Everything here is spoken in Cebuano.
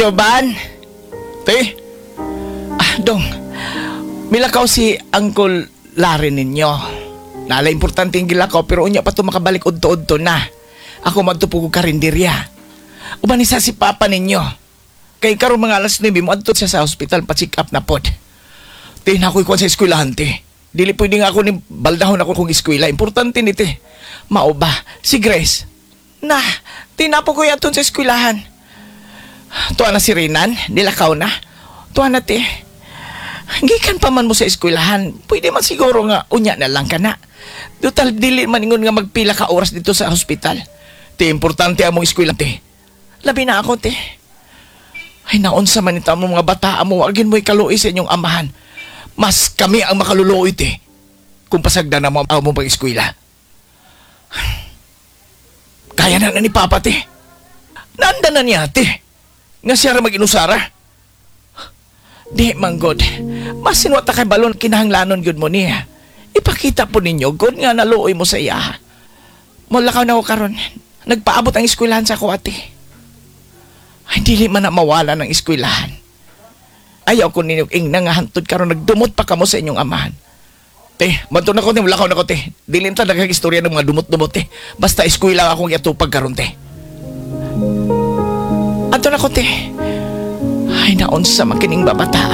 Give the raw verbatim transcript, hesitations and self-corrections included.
Joban? Te? Ah, dong. Milakaw si Uncle Larry ninyo. Nala importante yung gilakaw pero unya pa to makabalik udto-udto na. Ako madto po ko karinderya. Uban isa si Papa ninyo. Kay karon mga alas nuwebe mo adto siya sa hospital pa-check up na pod. Te, na ako'y kuwan sa eskwelahan, te. Dili pwede nga ako ni baldahon ako kung eskwela. Importante ni, te. Mao ba? Si Grace. Na, tinapo ko yaton sa eskwelahan. Tuwa na si Renan, nilakaw na. Tuwa na, te. Gikan pa man mo sa eskwelahan, pwede man siguro nga unya na lang ka na. Total, dili man ingon nga magpila ka oras dito sa hospital. Te, importante among eskwela, te. Labi na ako, te. Ay, naunsa man ito mo mga bata mo, wagin mo'y kaluoy sa inyong amahan. Mas kami ang makaluluoy, te. Kung pasagda na mo ang among pag-eskwela. Kaya na na ni Papa, te. Nanda na niya, te. Nga siya ra mag-inusara. Di, manggod. Masin wa ta kay balon kinahanglanon gyud mo niya. Ipakita po ninyo, God, nga naluoy mo sa iya. Mulakaw na ko karon. Nagpaabot ang eskwelahan sa ako, ate. Ay, dili man na mawala ng eskwelahan. Ayaw ko ninyo ing nangahantod karon nagdumot pa kamo sa inyong amahan. Te, madto na ko, te, mulakaw na ko, te. Dili ta daghang istorya ng mga dumot-dumot, te. Basta eskwela akong iatupag karon, te. Adto na ko, te. Ay, naunsa man kining babata.